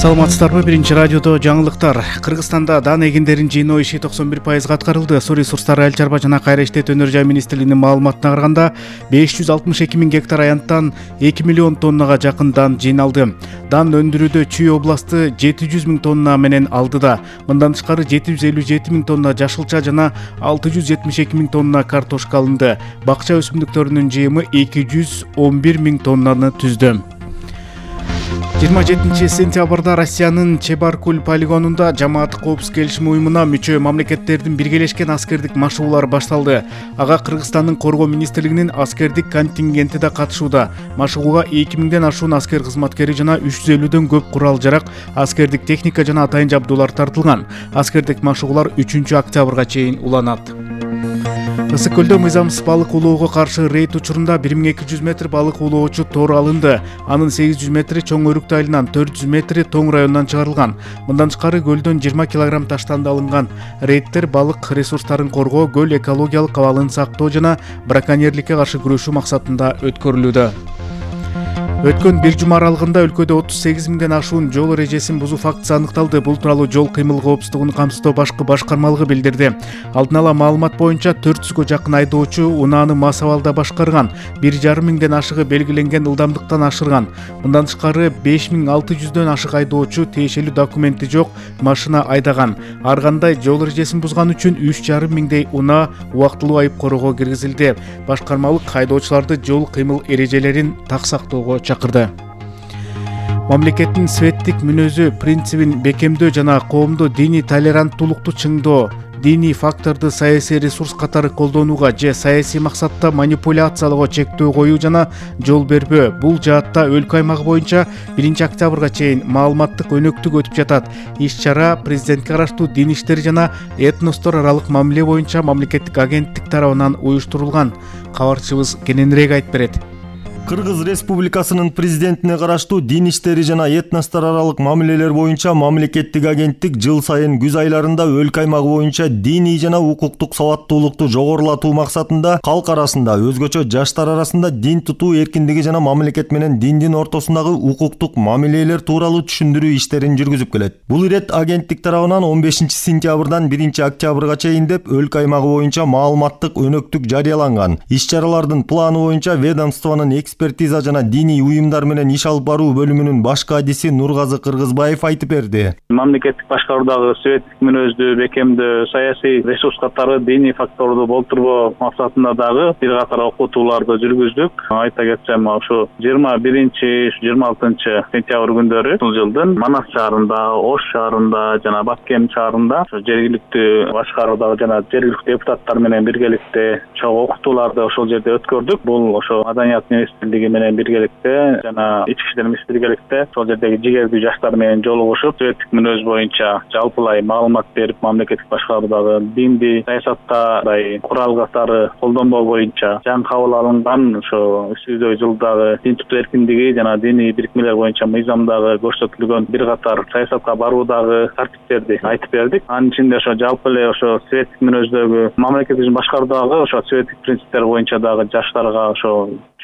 Саламатсыздарбы? Биринчи радиодо жаңылыктар. Кыргызстанда дан эгиндерин жыйноо иши 91% аткарылды. Суу ресурстары, айыл чарба жана кайра иштетүү өнөр жай министрлигинин маалыматына караганда 562 миң гектар аянттан 2 миллион тоннага жакын дан жыйналды. Дан өндүрүүдө Чүй областы 700 миң тонна менен алдыда. Мындан тышкары 757 миң тонна жашылча жана 672 миң тонна картошка алынды. Бакча өсүмдүктөрүнүн жыйымы 211 миң тоннаны түздү. 27 сентябрда Россиянын Чебаркуль полигонунда жамааттык коопсуздук келишим уюмуна мүчө мамлекеттердин биргелешкен аскердик машыгуулары башталды. Ага Кыргызстандын коргоо министрлигинин аскердик контингенти да катышууда. Машыгууга 2000ден ашуун аскер кызматкери жана 350дөн көп курал-жарак, аскердик техника жана атайын жабдуулар тартылган. Аскердик машыгуулар 3 октябрга чейин уланат. Ысык көлдө мыйзамсыз балык улоого каршы рейд учурунда 1200 метр балык улоочу тор алынды. Анын 800 метри Чоң Өрүктү айылынан, 400 метри Тоң районунан чыгарылган. Мындан тышкары көлдөн 20 килограмм таштанды алынган. Рейдтер балык ресурстарын коргоо, көл экологиялык абалын сактоо жана браконьерликке каршы күрөшүү максатында өткөрүлүүдө. Өткөн бир жума аралыгында өлкөдө 38 миңден ашуун жол эрежесин бузуу фактысы аныкталды. Бул тууралуу жол кыймыл коопсуздугун камсыздоо башкы башкармалыгы билдирди. Алдын ала маалымат боюнча 400гө жакын айдоочу унааны мас абалда башкарган. 1,5 миңден ашыгы белгиленген ылдамдыктан ашырган. Мындан тышкары 5600дөн ашык айдоочу тиешелүү документи жок машина айдаган. Ар кандай жол эрежесин бузган үчүн 3,5 миңдей унаа убактылуу айып короого киргизилди. Башкармалык айдоочуларды жол кыймыл эрежелерин так сактоого чакырды. Мамлекеттин светтик мүнөзү принцибин бекемдөө жана коомдо диний толеранттуулукту чыңдоо, диний факторду саясий ресурс катары колдонууга же саясий максатта манипуляциялоого чектөө коюу жана жол бербөө. Бул жаатта өлкө аймагы боюнча 1 октябрга чейин маалыматтык өнөктүк өтүп жатат. Иш-чара президентке караштуу дин иштери жана этностор аралык мамиле боюнча мамлекеттик агенттик тарабынан уюштурулган. Кабарчыбыз кененирээк айтып берет. Кыргыз Республикасынын президентине караштуу дин иштери жана этностор аралык мамилелер боюнча мамлекеттик агенттик жыл сайын күз айларында өлкө аймагы боюнча диний жана укуктук сабаттуулукту жогорулатуу максатында калк арасында, өзгөчө жаштар арасында дин тутуу эркиндиги жана мамлекет менен диндин ортосундагы укуктук мамилелер тууралуу түшүндүрүү иштерин жүргүзүп келет. Бул ирет агенттик тарабынан 15 сентябрдан 1 октябрга чейин деп өлкө аймагы боюнча маалыматтык өнөктүк жарыяланган. Иш-чаралардын планы боюнча ведомствонун экспертиза жана диний уюмдар менен иш алып баруу бөлүмүнүн баш кадиси Нургазы Кыргызбаев айтып берди. Мамлекеттик башкаруудагы светтик мүнөздү бекемдөө, саясий ресурс катары диний факторду болтурбоо максатында дагы бир катар окутууларды жүргүздүк. Айта кетсем, ошо 21-26 сентябрь күндөрү бул жылдын Манас шаарында, Ош шаарында жана Баткен шаарында жергиликтүү башкаруудагы жана жергиликтүү депутаттар менен биргеликте чоң окутууларды ошол жерде өткөрдүк. Бул ошо Маданият министрлиги менен биргеликте жана ички иштер министрлиги биргеликте ошол жердеги жигердүү жаштар менен жолугушуп, светтик мүнөз боюнча жалпылай маалымат берип, мамлекеттик башкаруудагы динди саясаттагы курал катары колдонбоо боюнча жаңы кабыл алынган ошо 300 жылдагы дин тутуу эркиндиги жана диний бирикмелер боюнча мыйзамдагы көрсөтүлгөн бир катар саясатка баруудагы тартиптерди айтып бердик. Анын ичинде ошо жалпы эле ошо светтик мүнөздөгү мамлекеттик башкаруудагы ошо светтик принциптер боюнча дагы жаштарга ошо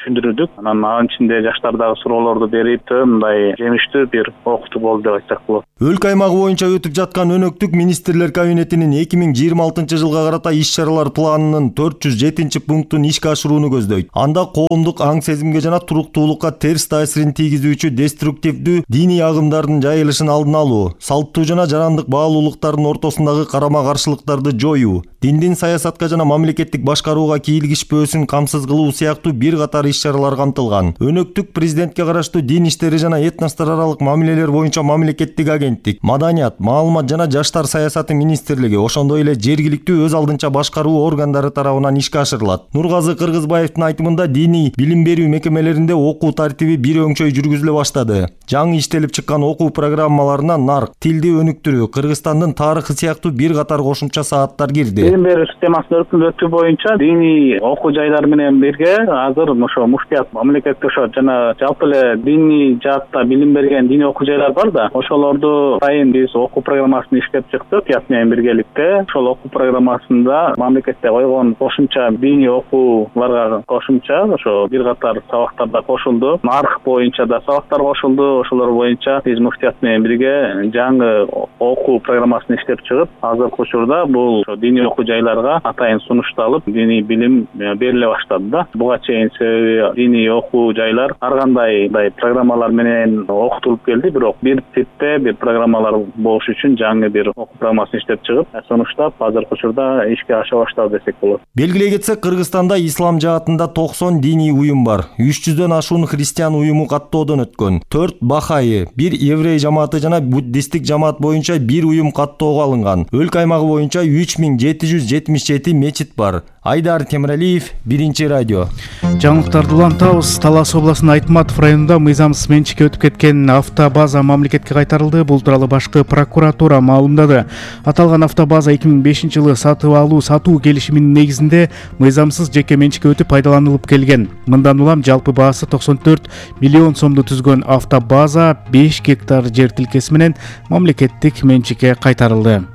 түшүндүрдүк. Анын ичинде жаштардагы суроолорду берип, мындай жемиштүү бир окутуу болду деп айтсак болот. Өлкө аймагы боюнча өтүп жаткан өнөктүк министрлер кабинетинин 2026 жылга карата иш-чаралар планынын 407 пунктун ишке ашырууну көздөйт. Анда коомдук аң сезимге жана туруктуулукка терс таасирин тийгизүүчү деструктивдүү диний агымдардын жайылышын алдын алуу, салттуу жана жарандык баалуулуктардын ортосундагы карама-каршылыктарды жоюу, диндин саясатка жана мамлекеттик башкарууга кийлигишпөөсүн камсыз кылуу сыяктуу бир катар иш-чаралар камтылган. Өнөктүк президентке караштуу дин иштери жана этностор аралык мамилелер боюнча мамлекеттик агенттик, Маданият, маалымат жана жаштар саясаты министрлиги, ошондой эле жергиликтүү өз алдынча башкаруу органдары тарабынан ишке ашырылат. Нургазы Кыргызбаевдин айтымында диний билим берүү мекемелеринде окуу тартиби бир өңчөй жүргүзүлө баштады. Жаңы иштелип чыккан окуу программаларына нарк, тилди өнүктүрүү, Кыргызстандын тарыхы сыяктуу бир катар кошумча сааттар кирди. Билим берүү системасынын өркүндөтүү боюнча диний окуу жайлар менен бирге азыр ошо ошо муфтият мамлекетте ошо жана жалпы эле диний жаатта билим берген диний окуу жайлар бар да, ошолорду сайын биз окуу программасын иштеп чыктык ят менен биргеликте. Ошол окуу программасында мамлекетте койгон кошумча диний окууларга кошумча ошо бир катар сабактар да кошулду. Нарх боюнча да сабактар кошулду. Ошолор боюнча биз муфтият менен бирге жаңы окуу программасын иштеп чыгып, азыркы учурда бул диний окуу жайларга атайын сунушталып, диний билим бериле баштады да. Буга чейин себеби диний окуу жайлар ар кандай программалар менен окутулуп келди, бирок бир типте бир программалар болуш үчүн жаңы бир окуу программасын иштеп чыгып, сунуштап азыркы учурда ишке аша баштады десек болот. Белгилей кетсек, Кыргызстанда ислам жаатында 90 диний уюм бар. 300дөн ашуун христиан уюму каттоодон өткөн. 4 бахайы, 1 еврей жамааты жана буддисттик жамаат боюнча 1 уюм каттоого алынган. Өлкө аймагы боюнча 3777 мечит бар. Айдар Темиралиев, Биринчи радио. Жаңылыктарды улантабыз. Талас областынын Айтматов районунда мыйзамсыз менчикке өтүп кеткен автобаза мамлекетке кайтарылды. Бул тууралуу башкы прокуратура маалымдады. Аталган автобаза 2005-жылы сатуу келишиминин негизинде мыйзамсыз жеке менчикке өтүп пайдаланылып келген. Мындан улам жалпы баасы 94 миллион сомду түзгөн автобаза 5 гектар жер тилкеси менен мамлекеттик менчикке кайтарылды.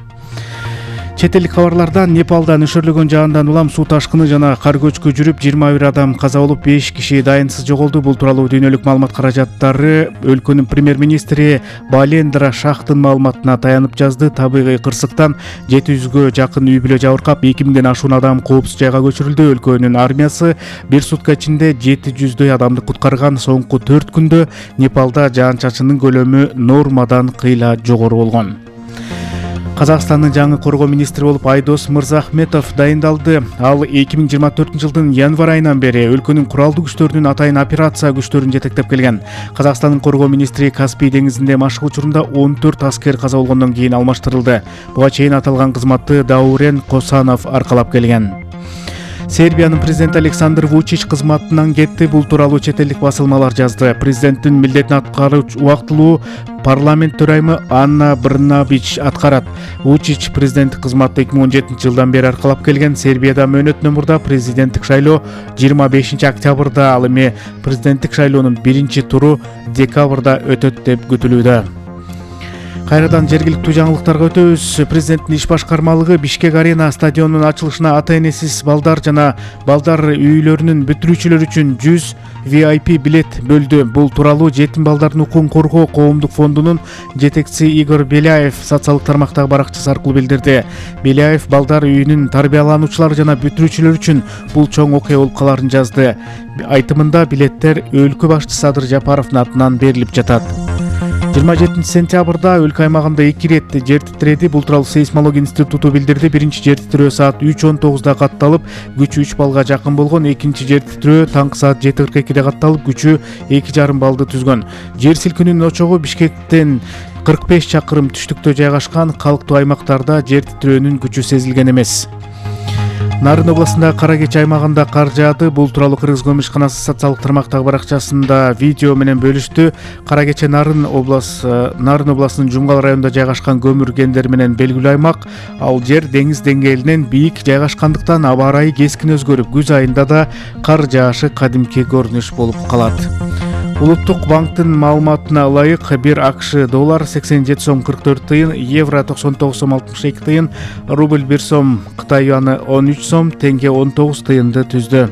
Чет элдик кабарлардан Непалдан өшөрлөгөн жаандан улам суу ташкыны жана кар көчкү жүрүп 21 адам каза болуп, 5 киши дайынсыз жоголду. Бул тууралуу дүйнөлүк маалымат каражаттары өлкөнүн премьер-министри Балендра Шахтын маалыматына таянып жазды. Табигый кырсыктан 700гө жакын үй бүлө жабыркап, 2000ден ашуун адам коопсуз жайга көчүрүлдү. Өлкөнүн армиясы бир сутка ичинде 700дөй адамды куткарган. Соңку 4 күндө Непалда жаан-чачындын көлөмү нормадан кыйла жогору болгон. Казакстандын жаңы коргоо министри болуп Айдос Мырзахметов дайындалды. Ал 2024-жылдын январь айынан бери өлкөнүн куралдуу күчтөрүнүн атайын операция күчтөрүн жетектеп келген. Казакстандын коргоо министри Каспий деңизинде машык учурунда 14 аскер каза болгондон кийин алмаштырылды. Буга чейин аталган кызматты Даурен Косанов аркалап келген. Сербиянын президенти Александр Вучич кызматынан кетти. Бул тууралуу чет элдик басылмалар жазды. Президенттин милдетин аткаруучу убактылуу парламент төрайымы Анна Брнабич аткарат. Вучич президенттик кызматты 2017-жылдан бери аркалап келген. Сербияда мөөнөтүнөн мурда президенттик шайлоо 25 октябрда, ал эми президенттик шайлоонун биринчи туру декабрда өтөт деп күтүлүүдө. Кайрадан жергиликтүү жаңылыктарга өтөбүз. Президенттин иш башкармалыгы Бишкек Арена стадионунун ачылышына ата-энесиз балдар жана балдар үйлөрүнүн бүтүрүүчүлөрү үчүн 100 VIP билет бөлдү. Бул тууралуу жетим балдардын укугун коргоо коомдук фондунун жетекчиси Игорь Беляев социалдык тармактагы баракчасы аркылуу билдирди. Беляев балдар үйүнүн тарбиялануучулары жана бүтүрүүчүлөрү үчүн бул чоң окуя болуп каларын жазды. Айтымында билеттер өлкө башчысы Садыр Жапаровдун атынан берилип жатат. 27 сентябрда өлкө аймагында 2 рет жер титиреди. Бул тууралуу сейсмология институту билдирди. Биринчи жер титирөө саат 3:19 катталып, күчү 3 баллга жакын болгон. Экинчи жер титирөө таңкы саат 7:42 катталып, күчү 2,5 баллды түзгөн. Жер силкинүүнүн очогу Бишкектен 45 чакырым түштүктө жайгашкан. Калктуу аймактарда жер титирөөнүн күчү сезилген эмес. Нарын областында Кара Кечи аймагында кар жаады. Бул тууралуу Кыргыз көмүшканасы социалдык тармактагы баракчасында видео менен бөлүштү. Кара Кечи Нарын областынын Жумгал районунда жайгашкан көмүр кендери менен белгилүү аймак. Ал жер деңиз деңгээлинен бийик жайгашкандыктан аба ырайы кескин өзгөрүп, күз айында да кар жаашы кадимки көрүнүш болуп калат. Улуттук банктын маалыматына ылайык, 1 АКШ доллар 87 сом 44 тыйын, евро 99 сом 62 тыйын, рубль 1 сом, Кытай юаны 13 сом, теңге 19 тыйынды түздү.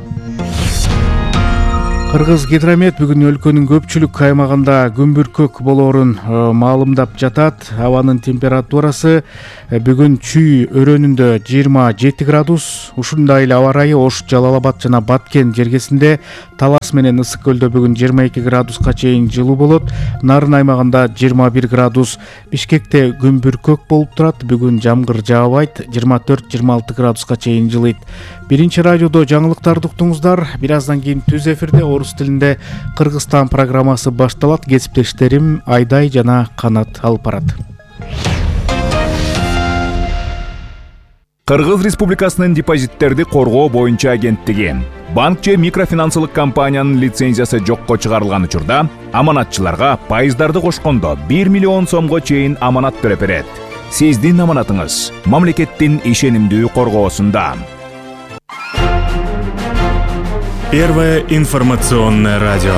Кыргыз гидромет бүгүн өлкөнүн көпчүлүк аймагында күнбүркөк болоорун маалымдап жатат. Абанын температурасы бүгүн Чүй өрөөнүндө 27 градус. Ушундай эле аба ырайы Ош, Жалал Абад жана Баткен жергесинде, Талас менен Ысык көлдө бүгүн 22 градуска чейин жылуу болот. Нарын аймагында 21 градус. Бишкекте күнбүркөк болуп турат. Бүгүн жамгыр жаабайт. 24-26 градуска чейин жылыйт. Биринчи радиодо жаңылыктарды уктуңуздар. Бир аздан кийин түз эфирде орус тилинде Кыргызстан программасы башталат. Кесиптештерим Айдай жана Канат алып барат. Кыргыз Республикасынын депозиттерди коргоо боюнча агенттиги банк же микрофинансылык компаниянын лицензиясы жокко чыгарылган учурда аманатчыларга пайыздарды кошкондо 1 миллион сомго чейин аманат төлөп берет. Сиздин аманатыңыз мамлекеттин ишенимдүү коргоосунда. Первое информационное радио.